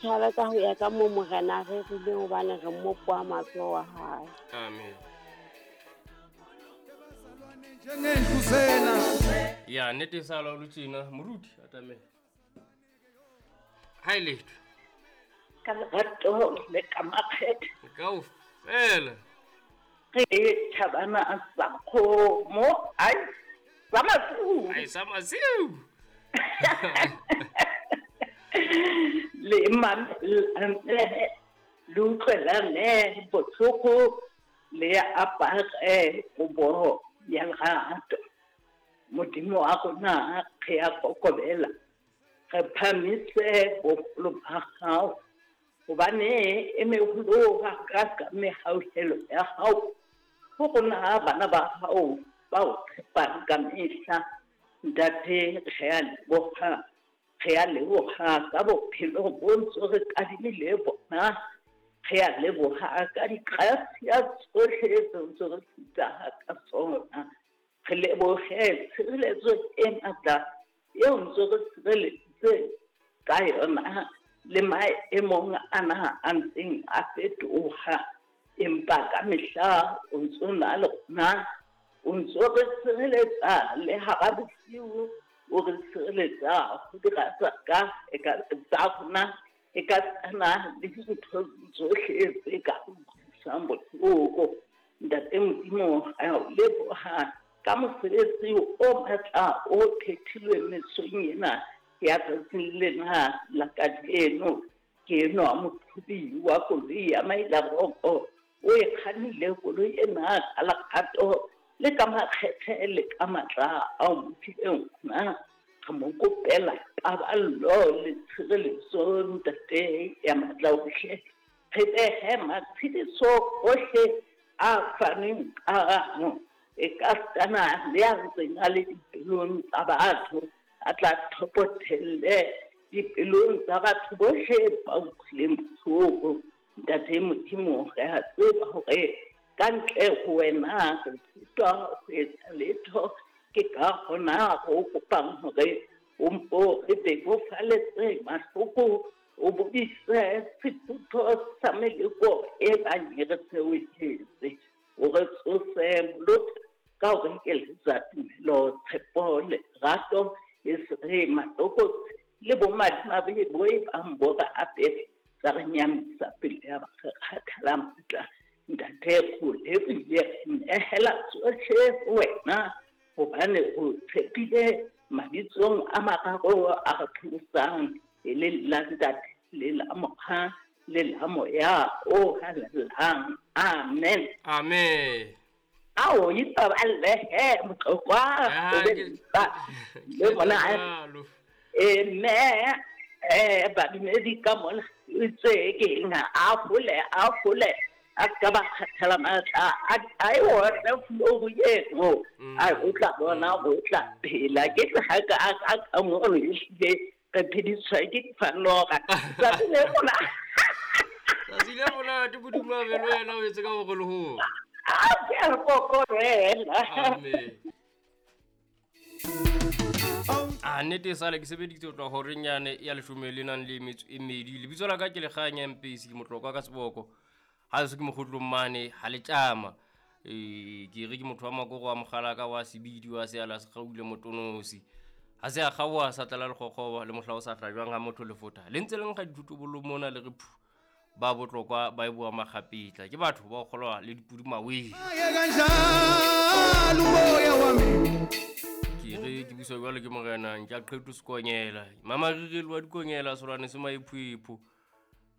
Thabe ka ho ya ka moo Morena a rerileng hobane re mmopo wa matsoho a hae. Amen. Ya nnete e sa laolo tjena moruti atamela. Ha e letho. Ka lerato le ka makgethe. Kaofela. Re thabana sa kgomo ai sa masiu. Ai sa masiu. Le mamelane le utlwelane botlhoko le apare kobo ya lerato. Modimo wa rona re a kokobela, re phamise boholo ba gago gobane e meholo ga ka mehauhelo ya gago go rona bana ba gago ba o tshepang ka mehla. Ntate re a leboga, re a leboga ka bophelo bo ntse re kadimile bona, re a leboga ka digrasia tsotlhe tse ntse re feta ka tsona. Re leboge tshireletso e matla eo ntse re sireleditse ka yona le maemong ana a ntseng a fetoha, empa ka mehla o ntso na le rona, o ntso re sireletsa le hara bosiu, o re sireletsa ho dira tsa ka e ka tsa rona e ka tsana le dintho tsohle tse ka utlwisang bohloko. Ntate Modimo re a o leboha ka mosebetsi o matla o phethilweng mesong ena ya tsatsing lena la kajeno. Ke enwa moqhobi wa koloi ya Mailaroko, o e kgannile koloi ena ka lerato le ka makgethe le ka matla ao mo fileng ona. Re mo kopela paballo le tshireletso ntate ya matla ohle. Re behe matshediso ohle a fanweng ka e ka stana le a ntseng a le dipelong tsa batho, a tla thopothelle dipelong tsa batho bohle ba utlwileng bohloko. Ntate Modimo re a tseba hore ka ntle ho wena re sitwa ho etsa letho, ke ka hona ho kopang hore o mpo re bebofaletse mahloko, o bodise sefutho sa meleko e bang e re theohetse, o re tsose molota ka ho re ekeletsa tumelo, tshepo, lerato, e se re matlokotsi le bomadimabe bo e bang bo re apere tsa re nyamisa pele ya ba re kgathala matla. Ntate go lebohile, re nehela tsohle ho wena hobane o tshepile mabitsong a mararo a re pholosang, e le la Ntate le la Mora le la Moya o halalelang. Amen. Amen. Ao ipaballe he motlokwa o be le bona. Mme badumedi ka mona itse ke eng, a fole a fole a ka ba kgathala matla a e otle floru eno, a o tla bona o tla phela. Ke tla ka a ka mono ehlile re phediswa ke difanora tsatsi le mona. Tsatsi le monate Modimo a be le wena, o etse ka bogologolo. A ke a kokorela. Amen. A nnete e sale ke sebeditse ho tloha horeng yane ya leshome le nang le metso e mmedi. Lebitso la ka ke Lekganya Mpesi, ke motlokwa ka seboko. Ha se ke mokgotlong mane ha le tjama. Ke re ke motho wa makoro wa mokgalaka wa sebidi wa seala se kgaule motonosi. Ha se a kgaoha sa tlala lekgokgoba le mohla o sa hlajwang ha motho lefotha. Le ntse le nkga dithotobolo mona le re phu. Ba botlokwa ba e boa makgapetla. Ke batho ba kgolwa le dipudi maweng. Ke re ke buswa jwalo ke morena ntja qheto sekonyela. Mama re re wa dikonyela solwane se maephoepho.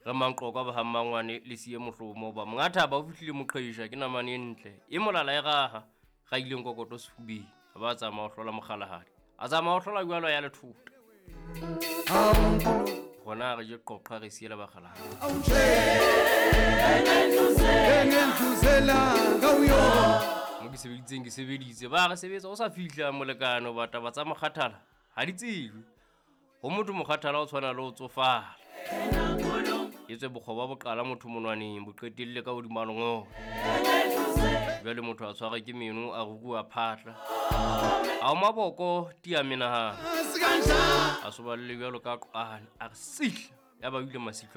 Re manqoka ba ha mmangwane le siye mohlomo ba mongatha ba o fihlile moqhesha ke namane e ntle. E molala e raha ga ileng kokoto sefubeng. Ba tsamaya ho hlola mokgalahadi. A tsamaya ho hlola jwalo ya lethota. Rona re je qoqa re siela bakgalahadi. Mo ke sebeditseng ke sebeditse ba re sebetsa o sa fihla molekane ba taba tsa mokgathala ha di tsejwe. Ho motho mokgathala o tshwana le o tsofala. Etswe bokgoba bo qala motho monwaneng bo qetelle ka hodima lengolo. Jwale motho a tshwarwe ke meno a ruruha phatla. A o maboko tia menahano. A soballe jwalo ka qwane a re sihla. Ya ba o ile masitlwa.